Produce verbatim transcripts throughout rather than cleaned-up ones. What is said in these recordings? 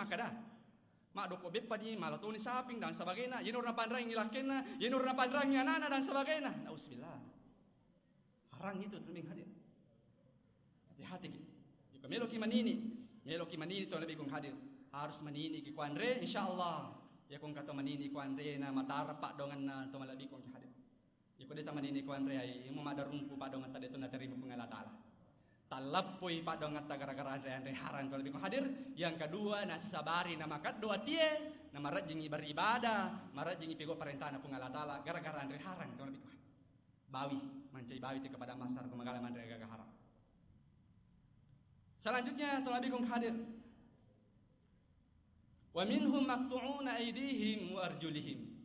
makkada, maddoppo beppani, mala toni saping dan sebagainya, yenaro napanrangi lakkenna, yenaro napanrangi anana dan sebagainya. Nauzubillah. Harang itu, teman hadir. Hati-hati ki. Jika meloki manini, meloki manini to lebih kong hadir. Harus manini ki kuanre, insyaallah. Ya kong kata manini kuanre na matara padonganna to malebbi kong hadir. Iko de tamanini ko anre ai, mu maddarumpu paddoangetta de to naterima Puang Allah Taala. Tallappui paddoangetta gara-gara anre-anre harang to lebih ko hadir. Yang kedua, nasabari na makaddo atie, na marajjingi beribadah, marajjingi pego parentana Puang Allah Taala gara-gara anre harang to lebih ko. Bawi, mancai bawi te kepada masar ko magala manre gaga harang. Selanjutnya to lebih ko hadir. Wa minhum maqtu'una aidihim wa arjulihim.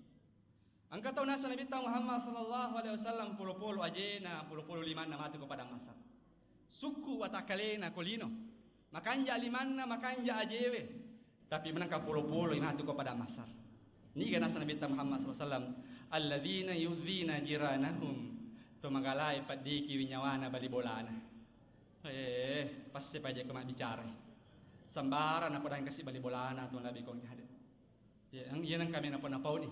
Engka tau naseng Nabitta Muhammad sallallahu alaihi wasallam polo-polo ajena, polo-polo limanna matu ko padang mahsyar. Sukku watakkalena ko lino. Makanja limanna, makanja ajewe. Tapi menengka polo-polo matu ko padang mahsyar. Niga naseng Nabitta Muhammad sallallahu alaihi wasallam, "Alladzina yu'dzina jiranahum." To magalae paddikiwi nyawana bali bolana. Eh, passe paja ko mabbicara. Sambara napodangi kasi bali bolana tu nabi kong hadir. Ya, ang-, iya nang kami napa-napauni.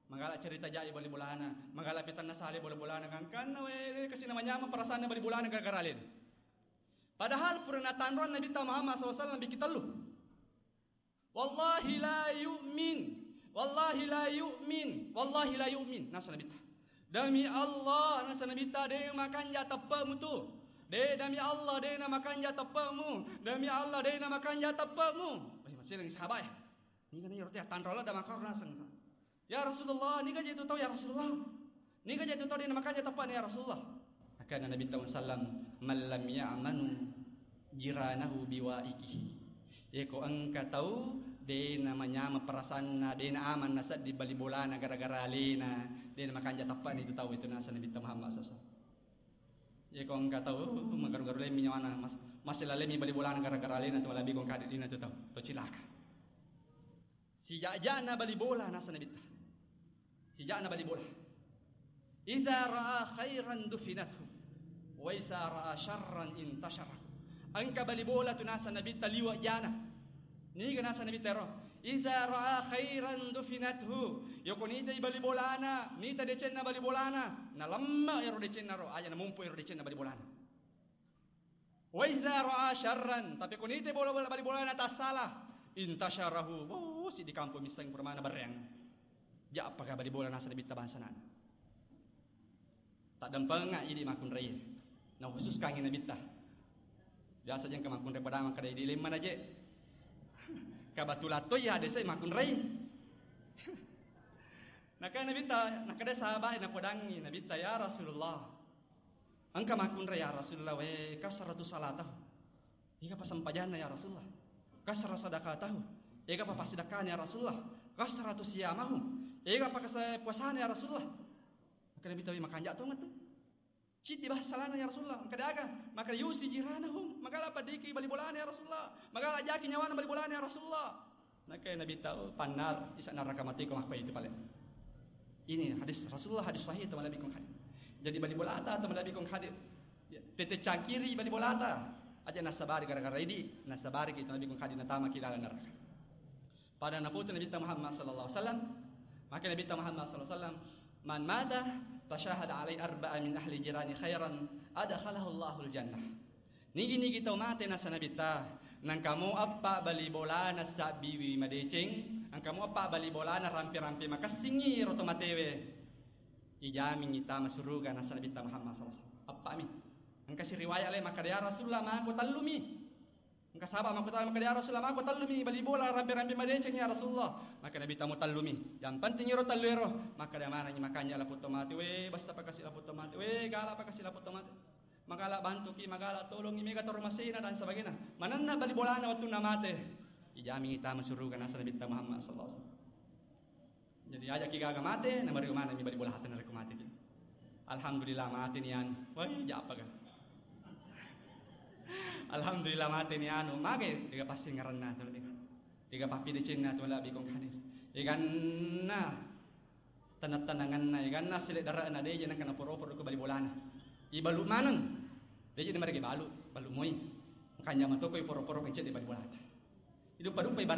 Magala cerita jai bali bolana, magala pitanna sale bali bolana, gangkanna we kasi namanyameng perasaanna bali bolana gara-gara alena. Padahal pura natanroang Nabitta Muhammad sallallahu alaihi wasallam bikki tellu. "Wallahi la yu'min, wallahi la yu'min, wallahi la yu'min," naseng Nabitta. "Demi Allah," naseng Nabitta, "de makanja teppe'mu tu. De, demi Allah, de na makanja teppe'mu. Demi Allah, de na makanja teppe'mu." Wah, maceleng sahabat ya. Niga na iyaro te tanro ladda makaro naseng. "Ya Rasulullah, niga je tu tau ya Rasulullah? Niga je tu tau de na makanja teppe'na ya Rasulullah?" Makana Nabitta sallam, "Man lam ya'manu jiranahu biwa'ikihi." Yeko engka tau de na manyameng perasanna, de na aman nasedding bali bolana gara-gara alena, de na makanja teppe'na itu tau itu naseng Nabitta Muhammad sallallahu alaihi wasallam. Yeko engka tau magaru-garu lemmi nyawana, mas-, masela lemmi bali bolana gara-gara alena tu malebbi kong kadi dina tu tau, to cilaka. Sija'ja'na bali bola naseng Nabitta. Sija'na bali bola. "Idza ra'a khairan dufinathu, wa idza ra'a syarran intasharahu." Engka bali bola tu naseng Nabitta liwa' jana. Niga naseng Nabitta ero? "Idza ra'a khairan dufinathu." Yoko nitai bali bolana, nita decenna bali bolana, nalemme' ero decenna ro, aja namumpu ero decenna bali bolana. "Wa idza ra'a syarran," tapi ko nite bola-bola bali bolana tassala, "intasharahu," oh, si di kampung misseng permana bereng. Ja'pa ka bali bola naseng Nabitta bangsa nana. Taddampenga idi makkunrai. Na khususkangi Nabitta. Biasa jeng ka makkunrai pada makkada idi lemma naje. Ka batu latoi ya desa makkunrai. Naka Nabitta, nakada sahabat napodangi Nabitta, "Ya Rasulullah, engka makkunrai ya Rasulullah, we kasratu salatahu." Ega pa sempajanna ya Rasulullah? Kasra sadaqatahu. Ega pa passidakkana ya Rasulullah? Kasratu siyamahu. Ega pa kasa-, puasana ya Rasulullah? Maka Nabi tawi makanja' tongeng tu. Ciddi bahas salana ya Rasulullah. Maka daga, maka yusi jiranahum. Magala paddiki bali bolana ya Rasulullah. Magala jaki nyawana bali bolana ya Rasulullah. Naka Nabi tahu pannar isa neraka mati ko makko itu pale. Ini hadis Rasulullah, hadis sahih teman Nabi kong hadis. Jadi bali bolata teman Nabi kong hadis. Ya, tete cangkiri bali bolata. Aja nasabari gara-gara idi, nasabari kita Nabi kong hadis natama ki dalam neraka. Pada naputu Nabi Muhammad sallallahu alaihi wasallam, maka Nabi Muhammad sallallahu alaihi wasallam, "Man mata fashahada alai arba'a min ahli jirani khairan, adkhalahu Allahul jannah." Nigi-nigi tau mate naseng Nabitta, nangka mo eppa bali bolana sabbiwi madeceng, nangka mo eppa bali bolana rampe-rampe makessingi ro to matewe, ijamingi tama suruga naseng Nabitta Muhammad sallallahu alaihi wasallam. Eppa mi. Engka si riwayat lain makkada, "Ya Rasulullah, mako tellumi." Engka sahabat makkutana makkada, "Ya Rasulullah, mako tellumi bali bola rampe-rampe madeceng ya Rasulullah." Maka Nabitta, "Mo tellumi. Yang penting ero tellu ero." Makkada manengi makanja laputto mate, "We, bessa pakasi laputto mate. We, gala pakasi laputto mate." Magala bantuki, magala tolongi, mega toro masena dan sebagainya. Manenna bali bolana wettunna mate. Ijamingi tama suruga naseng Nabitta Muhammad sallallahu alaihi wasallam. Jadi aja ki gaga mate, na mariu maneng mi bali bola hate narekko mate ki. Alhamdulillah mate ni anu. Wai, japa ga. Alhamdulillah mate ni anu, mage dega passingerenna tu, dega pappidecenna tu, labi kong hadir. Eganna tenang-tenanganna, eganna sile darana, deje nangka naporo-poro ko bali bolana. Ibalu maneng. Deje de marege balu, balu moi. Kanja matoko iporo-poro kecil di bali bolata. Idupa-dupa ibarat